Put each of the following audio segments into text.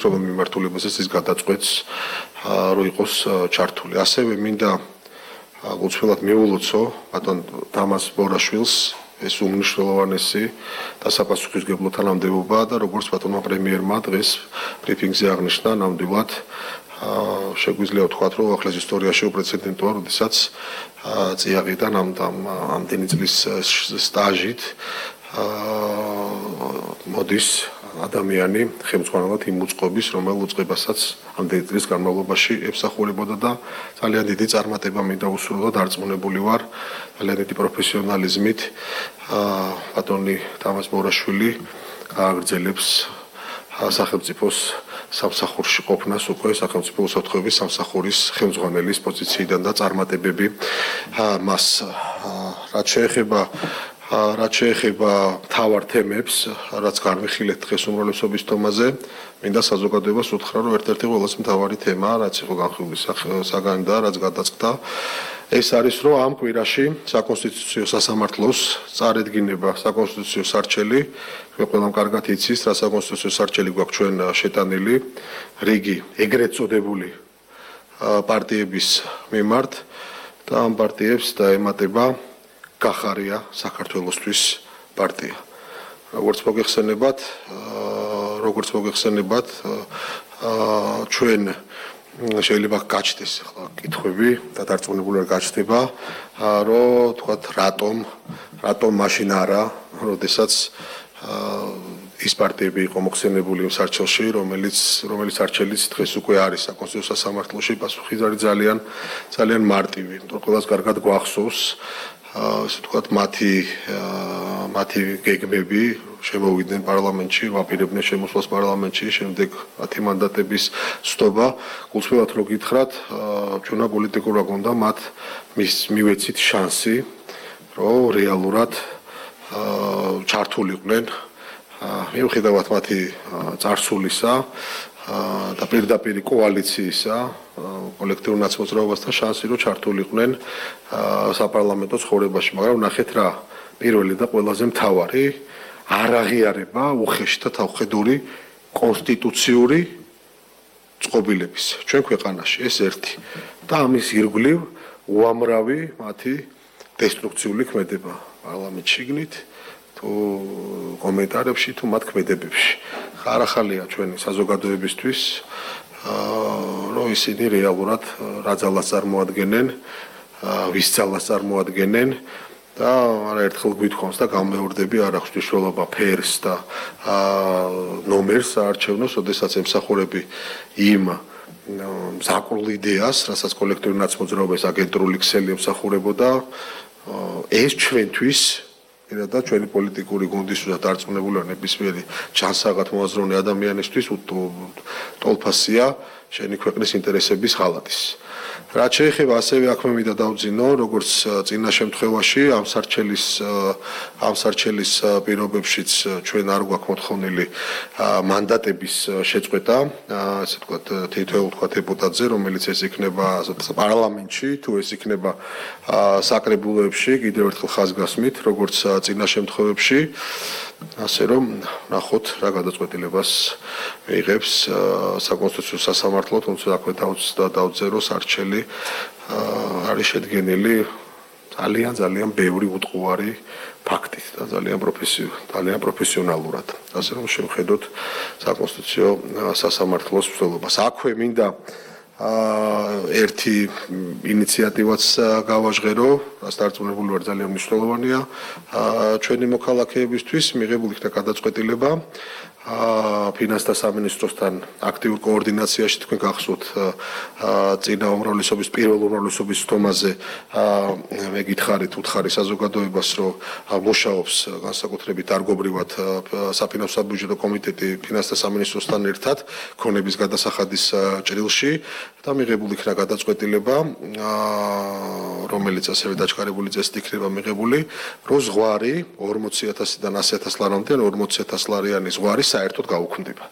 მიმართულებაზეც ის გადაწყვეტს რომ იყოს ჩართული. ასევე მინდა გულწრფელად მიულოცო ბატონ დამას ბორაშვილს ეს უმნიშვნელოვანესი და საპასუხისმგებლო თანამდებობა და როგორც ბატონმა პრემიერმა დღეს ბრიფინგზე აღნიშნა, ნამდვილად შეგვიძლია ვთქვათ, რომ ახლა ისტორიაში უპრეცედენტოა, როდესაც წიაღიდან ამდენი წლის სტაჟით მოდის ადამიანი ხელმძღვანელად იმ უწყობის, რომელ უწყებასაც ამდენი წლის განმავლობაში ემსახურებოდა და ძალიან დიდი წარმატება მინდა უსურვო და დარწმუნებული ვარ, ძალიან დიდი პროფესიონალიზმით ბატონი დამას ბორაშვილი გააგრძელებს სახელმწიფოს სამსახურში ყოფნას უკვე სახელმწიფო უსაფრთხოების სამსახურის ხელმძღვანელის პოზიციიდან და წარმატებები მას რაც შეეხება მთავარ თემებს, რაც განვიხილეთ დღეს უმრავლესობის თომაზე, მინდა საზოგადოებას უთხრა, რომ ერთ-ერთი ყველაზე მთავარი თემა, რაც იყო განხილული საგანი და რაც გადაწყდა, ეს არის, რომ ამ კვირაში საკონსტიტუციო სასამართლოს წარედგინება საკონსტიტუციო სარჩელი, ყველამ კარგად იცის, რა საკონსტიტუციო სარჩელი გვაქვს ჩვენ შეტანილი, რიგი ეგრეთ წოდებული პარტიების მიმართ და ამ პარტიებს დაემატება გახარია საქართველოსთვის პარტია. როგორც მოგეხსენებათ, ჩვენ შეიძლება გაჩნდეს ახლა კითხვები და დარწმუნებული ვარ გაჩნდება, რომ თქვათ რატომ მაშინ არა, როდესაც ის პარტიები იყო მოხსენებული იმ სარჩელში, რომელიც სარჩელიც დღეს უკვე არის საკონსტიტუციო სასამართლოში, პასუხი არის ძალიან მარტივი. ყველას კარგად გვახსოვს ასე ვთქვათ, მათი გეგმები შემოვიდნენ პარლამენტში, ვაპირებდნენ შემოსვლას პარლამენტში, შემდეგ 10 მანდატების სთობა. გულწრფელად რო გითხრათ, ჩვენა პოლიტიკურად გონდა მათ მივეცით შანსი, რომ რეალურად ჩართულიყვნენ მიუხედავად მათი წარსულისა და პირდაპირ კოალიციისა, კოლექტიურ ნაცმოძრაობასთან შანსი რომ ჩართულიყვნენ საპარლამენტო ცხოვრებაში, მაგრამ ნახეთ რა, პირველი და ყველაზე მთავარი არ აღიარება უხეში და თავხედური კონსტიტუციური წყობილების ჩვენ ქვეყანაში, ეს ერთი და ამის ირგვლივ უამრავი მათი დესტრუქციული ქმედება პარლამენტში შიგნით თუ კომენტარებში თუ მათ ქმედებებში. ხარახალია ჩვენი საზოგადოებისთვის, რომ ისინი რეალურად რა ძალას წარმოადგენენ, ვის ძალას წარმოადგენენ და არაერთხელ გვითხოვს და გამეორდები არ აქვს მნიშვნელობა ფერს და ნომერს აარჩევნოს, ოდესაც ემსახურები იმ მზაკრულ იდეას, რასაც კოლექტიური ნაცმოძრაობის აგენტურული ქსელი ემსახურებოდა, ეს ჩვენთვის და ჩვენი პოლიტიკური გუნდისთვის და დარწმუნებული ვარ ნებისმიერი ჩანსაღად მოაზროვნე ადამიანისთვის ტოლფასია შენი ქვეყნის ინტერესების ღალატის. რაც შეეხება ასევე აქ მე მინდა დავძინო, როგორც წინა შემთხვევაში ამ სარჩელის პირობებშიც ჩვენ არ გვაქვს მოთხოვნილი მანდატების შეწყვეტა, ასე ვთქვათ, თითოეულ დეპუტატზე, რომელიც ეს იქნება პარლამენტში, თუ ეს იქნება საკრებულოებში, კიდევ ერთხელ ხაზგასმით, როგორც წინა შემთხვევებში, ასე რომ ნახოთ რა გადაწყვეტილებას მიიღებს საკონსტიტუციო სასამართლო, თუმცა აქვე დავწერო სარჩელი არის შედგენილი ძალიან ბევრი უტყუარი ფაქტით და ძალიან პროფესიონალურად. ასე რომ შევხედოთ საკონსტიტუციო სასამართლოს მსვლელობას. აქვე მინდა ერთი ინიციატივაც გავაჟღერო, რაც დარწმუნებული ვარ ძალიან მნიშვნელოვანია ჩვენი მოქალაქეებისთვის, მიღებული იქნა გადაწყვეტილება ფინანსთა სამინისტროსთან აქტიურ კოორდინაციაში, თქვენ გახსოვთ წინა უმრავლესობის პირველ უმრავლესობის თომაზე მე გითხარით, უთხარი საზოგადოებას, რომ მუშაობს განსაკუთრებით დარგობრივად საფინანსო საბიუჯეტო კომიტეტი ფინანსთა სამინისტროსთან ერთად ქონების გადასახადის ჭრილში და მიღებული იქნა გადაწყვეტილება, რომელიც ასევე დაჩქარებული წესით იქნება მიღებული, რომ ზღვარი 40,000-დან 100,000 ლარამდე 40,000 ლარიანი ზღვარი საერთოდ გაუქმდება.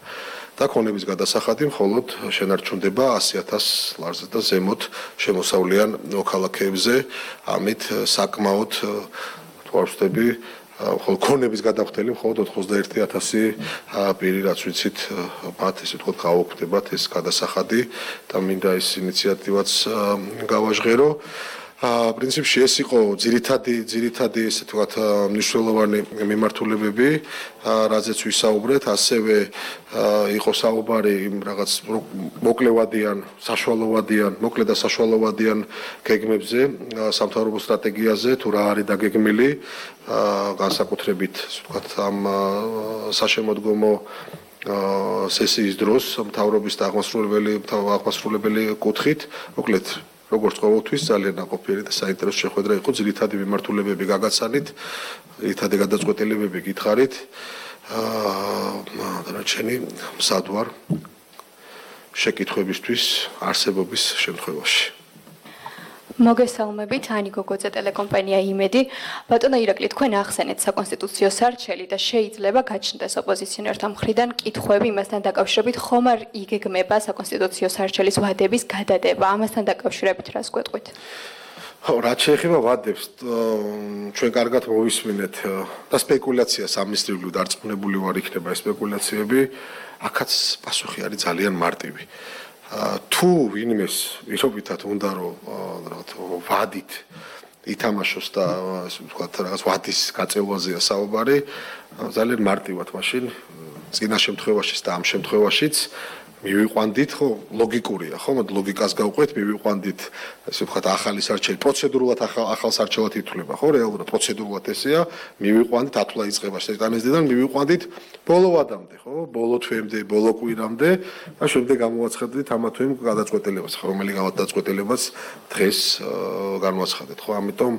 და ქონების გადასახადი მხოლოდ შენარჩუნდება 100,000 ლარზე და ზემოთ შემოსავლიან მოქალაქეებზე, ამით საკმაოდ თვალსწრები ქონების გადახდელი მხოლოდ 91,000 პირი, რაც ვიცით, მათ ესე ვთქვათ, გაუქმდებათ ეს გადასახადი და მინდა ეს ინიციატივაც გავაჟღერო. პრინციპში ეს იყო ძირითადი ესე ვთქვათ მნიშვნელოვანი მიმართულებები, რაზეც ვისაუბრეთ, ასევე იყო საუბარი იმ რაღაც მოკლევადიან, საშუალოვადიან, მოკლე და საშუალოვადიან გეგმებზე, სამთავრობო სტრატეგიაზე, თუ რა არის დაგეგმილი, განსაკუთრებით, ასე ვთქვათ, ამ საშემოდგომო სესიის დროს მთავრობის და აღმასრულებელი კუთხით, მოკლედ როგორც ყოველთვის ძალიან ნაყოფიერი და საინტერესო შეხვედრა იყო, ძირითადი მიმართულებები გაგაცანით, ძირითადი გადაწყვეტილებები გითხარით. დანარჩენი მსად ვარ შეკითხვებისთვის არსებობის შემთხვევაში. მოგესალმებით, ანი გოგოძე ტელეკომპანია იმედი. ბატონო ირაკლი, თქვენ ახსენეთ საკონსტიტუციო სარჩელი და შეიძლება გაჩნდეს ოპოზიციონერთა მხრიდან კითხვები იმასთან დაკავშირებით, ხომ არ იგეგმება საკონსტიტუციო სარჩელის ვადების გადადება? ამასთან დაკავშირებით რას გვეტყვით? რაც შეეხება ვადებს, ჩვენ კარგად მოვისმინეთ და სპეკულაციას ამისრიგლივ დარწმუნებული ვარ იქნება ეს სპეკულაციები, აქაც პასუხი არის ძალიან მარტივი. თუ ვინმეს ვირობითად უნდა რომ ვადით ითამაშოს და ასე ვთქვათ რაღაც ვადის გაწევაზეა საუბარი, ძალიან მარტივად მაშინ წინა შემთხვევაშიც და ამ შემთხვევაშიც მივიყვანდით, ხო, ლოგიკურია, ხო, ლოგიკას გავყვეთ, მივიყვანდით, ასე ვთქვათ, ახალი სარჩელი, პროცედურულად ახალ სარჩელად ითვლება, ხო, რეალურად პროცედურულად ესეა, მივიყვანდით, ათვლა იწყება შეტანისდან, მივიყვანდით ბოლო ვადამდე, ხო, ბოლო თვემდე, ბოლო კვირამდე და შემდეგ გამოაცხადეთ ამა თუ იმ გადაწყვეტილებას, ხო, რომელი გადაწყვეტილებაც დღეს განვაცხადეთ, ხო, ამიტომ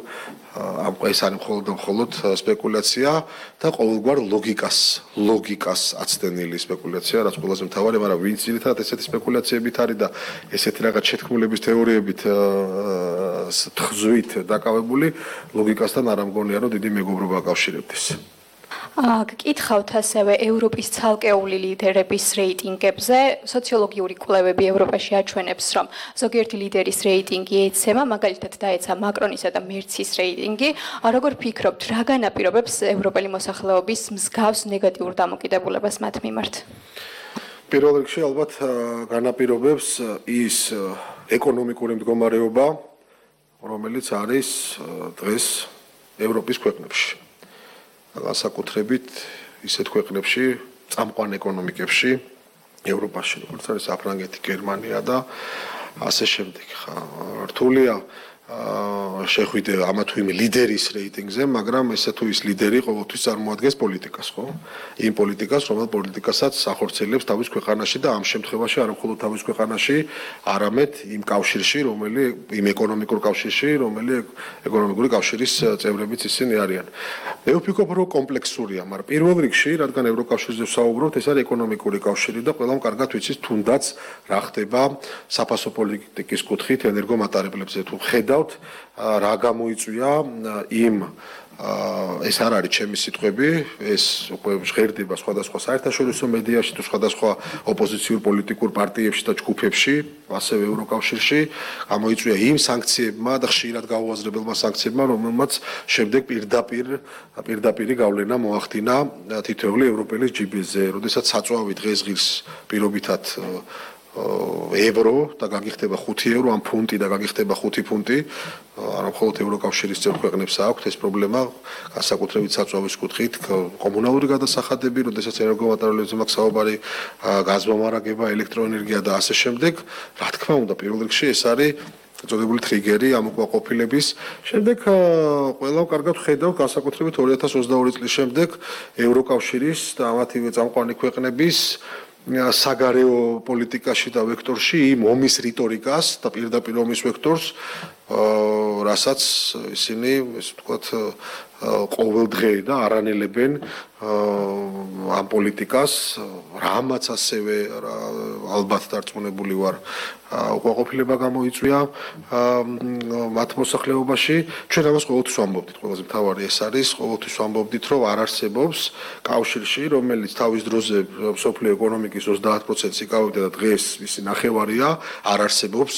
ამ ეს არის მხოლოდ სპეკულაცია და ყოველგვარ ლოგიკას აცდენილი სპეკულაცია, რაც ყველაზე მთავარი, მაგრამ ვინც ძირითადად ესეთი სპეკულაციებით არის და ესეთი რაღაც შეთქმულების თეორიებით ხზვით დაკავებული, ლოგიკასთან არ ამგონია, რომ დიდი მეგობრობა აკავშირებდეს. გკითხავთ ასევე ევროპის ცალკეული ლიდერების რეიტინგებზე. სოციოლოგიური კვლევები ევროპაში აჩვენებს, რომ ზოგიერთი ლიდერის რეიტინგი ეცემა, მაგალითად დაეცა მაკრონისა და მერცის რეიტინგი. როგორ ფიქრობთ, რა განაპირობებს ევროპელი მოსახლეობის მსგავს ნეგატიურ დამოკიდებულებას მათ მიმართ? პირველ რიგში ალბათ განაპირობებს ის ეკონომიკური მდგომარეობა, რომელიც არის დღეს ევროპის ქვეყნებში. განსაკუთრებით ისეთ ქვეყნებში, წამყვან ეკონომიკებში, ევროპაში, როგორც არის საფრანგეთი, გერმანია და ასე შემდეგ. რთულია შეხვიდე ამა თუ იმ ლიდერის რეიტინგზე, მაგრამ ესე თუ ის ლიდერი ყოველთვის წარმოადგენს პოლიტიკას, ხო? იმ პოლიტიკას, რომელ პოლიტიკასაც ახორციელებს თავის ქვეყანაში და ამ შემთხვევაში არა მხოლოდ თავის ქვეყანაში, არამედ იმ კავშირში, იმ ეკონომიკურ კავშირში, რომელიც ეკონომიკური კავშირის წევრებიც ისინი არიან. მე ვფიქრობ, რომ კომპლექსურია, მაგრამ პირველ რიგში, რადგან ევროკავშირზე ვსაუბრობთ, ეს არის ეკონომიკური კავშირი და ყველამ კარგად ვიცით, თუნდაც რა ხდება საფასო პოლიტიკის კუთხით ენერგომატარებლებზე. თუ ხედავთ რა გამოიწვია იმ ეს არ არის ჩემი სიტყვები, ეს უკვე ჟღერდება სხვადასხვა საერთაშორისო მედიაში თუ სხვადასხვა ოპოზიციურ პოლიტიკურ პარტიებში და ჯგუფებში, ასევე ევროკავშირში, გამოიწვია იმ სანქციებმა და ხშირად გაუაზრებელმა სანქციებმა, რომელმაც შემდეგ პირდაპირი გავლენა მოახდინა თითოეული ევროპელის ჯიბეზე, როდესაც საწვავი დღესღირს პირობითად ევრო და გაგიხდება 5 ევრო, ან ფუნტი და გაგიხდება 5 ფუნტი, არა მხოლოდ ევროკავშირის წევრ ქვეყნებს აქვს ეს პრობლემა, განსაკუთრებით საწვავის კუთხით, კომუნალური გადასახადები, როდესაც ენერგომატარებლებზე მაქვს საუბარი, გაზმომარაგება, ელექტროენერგია და ასე შემდეგ. რა თქმა უნდა, პირველ რიგში ეს არის წოდებული ტრიგერი ამ უკმაყოფილების. შემდეგ ყველამ კარგად ხედავ, განსაკუთრებით 2022 წლის შემდეგ ევროკავშირის და ამათივე წამყვანი ქვეყნების საგარეო პოლიტიკაში და ვექტორში იმ ომის რიტორიკას და პირდაპირ ომის ვექტორს, რასაც ისინი, ესე ვთქვათ, ყოველდღე და არანელებენ ამ პოლიტიკას, რამაც ასევე ალბათ დარწმუნებული ვარ, უკმაყოფილება გამოიწვია მათ მოსახლეობაში. ჩვენ ამას ყოველთვის ვამბობდით, ყველაზე მთავარი ეს არის, ყოველთვის ვამბობდით, რომ არ არსებობს კავშირში, რომელიც თავის დროზე მსოფლიო ეკონომიკის 30%-ს იკავებდა და დღეს მისი ნახევარია, არ არსებობს,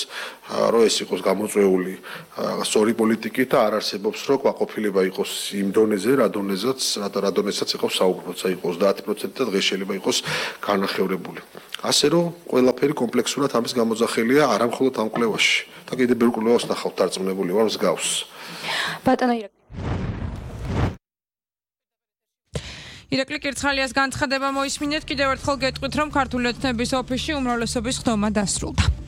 რომ ეს იყოს გამოწვეული სწორი პოლიტიკით და არ არსებობს რომ კვაყოფილება იყოს იმ დონეზე, რა დონესაც იყო საუბრობთ, იყოს 10% და დღეს შეიძლება იყოს განახევრებული. ასე რომ ყველაფერი კომპლექსურად ამის გამოძახილია არა მხოლოდ ამ კვლევაში და კიდევ ბევრ კვლევას ნახავთ დარწმუნებული ვარ მსგავს. ბატონო ირაკლი კირცხალიას განცხადება მოისმინეთ კიდევ ერთხელ გეტყვით რომ ქართული ოცნების ოფისში უმრავლესობის ხდომა დასრულდა.